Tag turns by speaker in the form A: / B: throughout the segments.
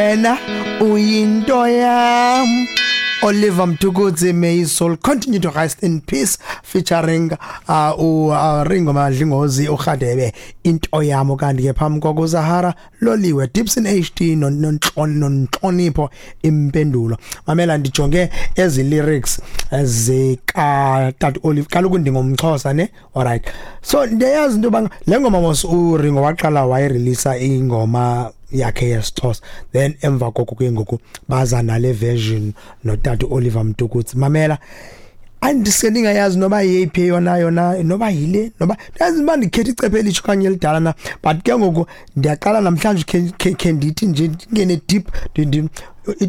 A: Wena uyinto yam. Oliver Mtukudzi, may his soul continue to rest in peace, featuring Ringo Madlingozi, uRhadebe, into yam. Kanti ke phambi koko Zahara Loliwe, Dibson HD nontlonipho impendulo. Mamela, ndijonge ezi lyrics zika Tata Olive, kaloku ndingumXhosa ne. Alright, so ndiyayazi into yoba le ngoma mos uRingo waqala wayireleasa ingoma yakhe yesiXhosa, then emva koko ke ngoku baza nale version notata Oliver Mtukudzi. Mamela, andise ndingayazi noba yeyiphi yona yona, noba yile, noba ndazi uba ndikhetha icephe elitsho okanye elidala na, but ke ngoku ndiyaqala namhlanje khe ndithi nje ndingene deep.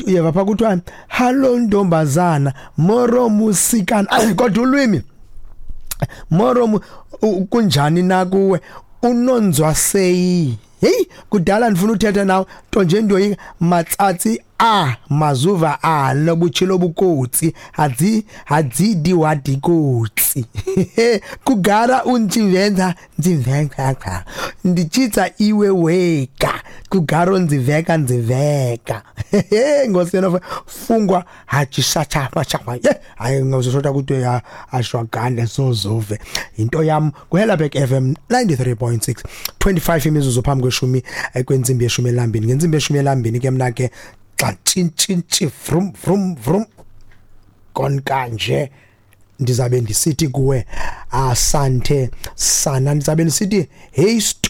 A: Uyeva phaa kuthiwa hallo ntombazana, moro musikana, kodwa ulwimi moro kunjani na kuwe unonzwa seyi. Hey, kudala ndifuna uthetha nawe, nto nje ndoyika matsatsi a mazuva a nobutshilo bukotsi hadzi hadzidi wadikotsi kugara unchivenza ndziveka ndichitsa iwe wega kugara ndziveka ndziveka ngosena fungwa hachisachapa ye hayi ngozoshoda ukuthi ya ashwagande sozove into yam. Kuhelabek FM 93.6, 25 imizuzu phambi kweshumi kwentsimbi yeshumi elambini. Ngentsimbi yeshumi elambini ke mna ke xa tshintshintshi vrum vrum vrum konkanje ndizabe ndisithi kuwe asante sana, ndizabe ndisithi hey stu,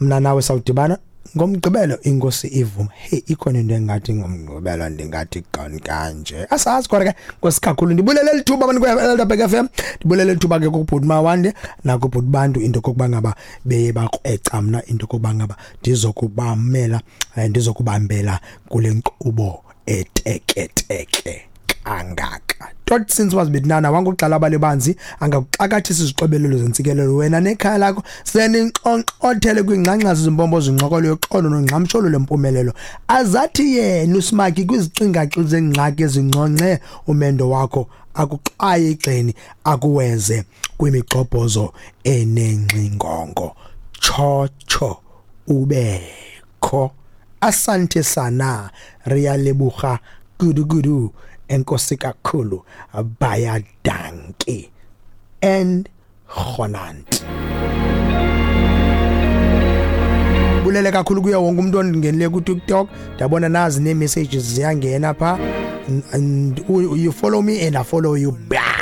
A: mna nawe sawudibana ngomgqibelo inkosi ivuma. Hey, ikhona into engathi ngomgqibelo ndingathi kanje asazi, kodwa ke nkosi kakhulu. Ndibulele lithuba abantu kwe-Elderberg FM, ndibulele lithuba ke kubhuti Mawande nakubhuti Bantu into kokuba ngaba beye bakreca mna into kokuba ngaba ndizokubamela, ndizokubambela kule nkqubo eteketeke kangaka. Tot since was bidnana wanguxala balebanzi angakuxakathisa izixobelelo zentsikelelo wena nekhaya lakho seninxonxothele kwingxangxasi zimbombo zinxokolo yoxolo nongxamsholo lempumelelo. Azathi yena uSmaki kwizicingaxi zengxaki ezinconce umendo wakho akuxwaye igxeni akuweze kwimigxobhozo enengxingongo. Tshotsho ubekho. Asante sana, riyalebuga kudu kudu, enkosi kakhulu, baya dankie and gonant. Bulele kakhulu kuye wonke umuntu ondingenile ku TikTok, ndiyabona nazi nee messages ziyangena pha, and you follow me and I follow you back.